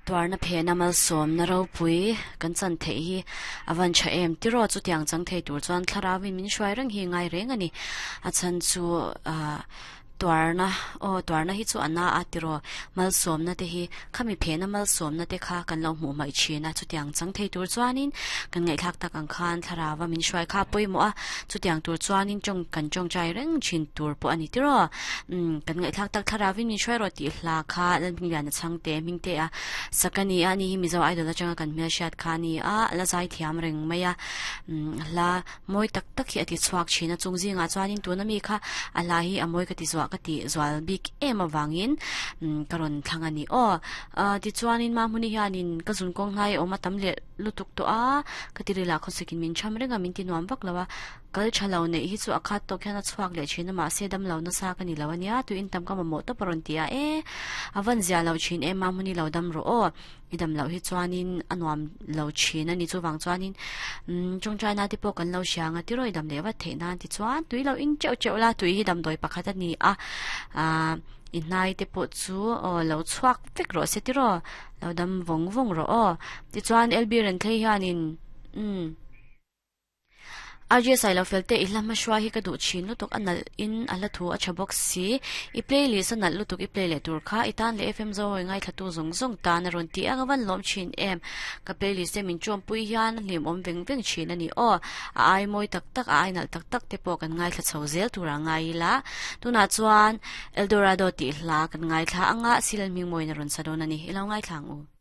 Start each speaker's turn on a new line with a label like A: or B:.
A: Tuarna phehna malsawmna ropui kan chan theih hi a van tha em tiraw chutiang chang thei tur chuan thlarauin min hruai reng hi ngai reng a ni. A chhan chu ah tuarna aw tuarna hi chu a na a tiraw malsawmna te hi khami phehna malsawmna te kha kan lo hmuh hmaih thin a chutiang chang thei tur chuanin kan ngaihthlak tak ang khan thlarau a min hruai kha a pawimawh a chutiang tur chuanin tawng kan tawngtai reng thin tur pawh a ni tiraw umm kan ngaihthlak tak thlarauin min hruai rawh tih hla kha Lalhmingliana chhangte hming te a sak a ni a ani hi Mizo Idol atanga kan hmelhriat kha a ni a a la zai thiam reng mai a umm hla Mawi tak tak hi a ti chhuak thin a, chung zingah chuanin tuna mi kha a hla hi a mawi ka ti zuah ka ti zual bik em avangin ka rawn thlang a ni aw. Tichuanin Mahmuni hianin ka zun kawng hlai a awm a tam leh lutuk tawh a, ka ti ril ah khawsakin min cham reng a, min ti nuam vak lo a, kal tha lo neih hi chu a khat tawk hian a chhuak leh thin a, mahse dam lo nasa ka ni lo a nia, tuin tam ka mamawh tawp a rawn ti a, e a van zia lo thin em Mahmuni lo dam rawh aw. I dam loh hi chuanin a nuam lo thin a ni. Chuvang chuanin umm tawngtaina te pawh kan lo hria ang a, tiraw i dam leh vat theih nan tichuan tui lo in teuh teuh la, tui hi damdawi pakhat a ni a, aah i hnai te pawh chu aw lo chhuak vek rawh se tiraw, lo dam vawng vawng rawh aw. Tichuan LB Renthlei hianin umm. RJ Sailo fel te i hla hmahruai hi ka duh thin lutuk a nalh in a hla thu a tha bawk si i playlist a nalh lutuk i play leh tur kha i tan leh FM Zoawi ngaithla tu zawng zawng tan a rawn ti a ka van lawm thin em ka playlist te min tawmpui hian a hlimawm veng veng thin a ni aw a ai mawi tak tak a ai nalh tak tak te pawh kan ngaithla chho zel tur a ngai ila tunah chuan Eldorado tih hla kan ngaithla anga Silalhmingmawiin a rawn sa dawn a ni i lo ngaithla ang u.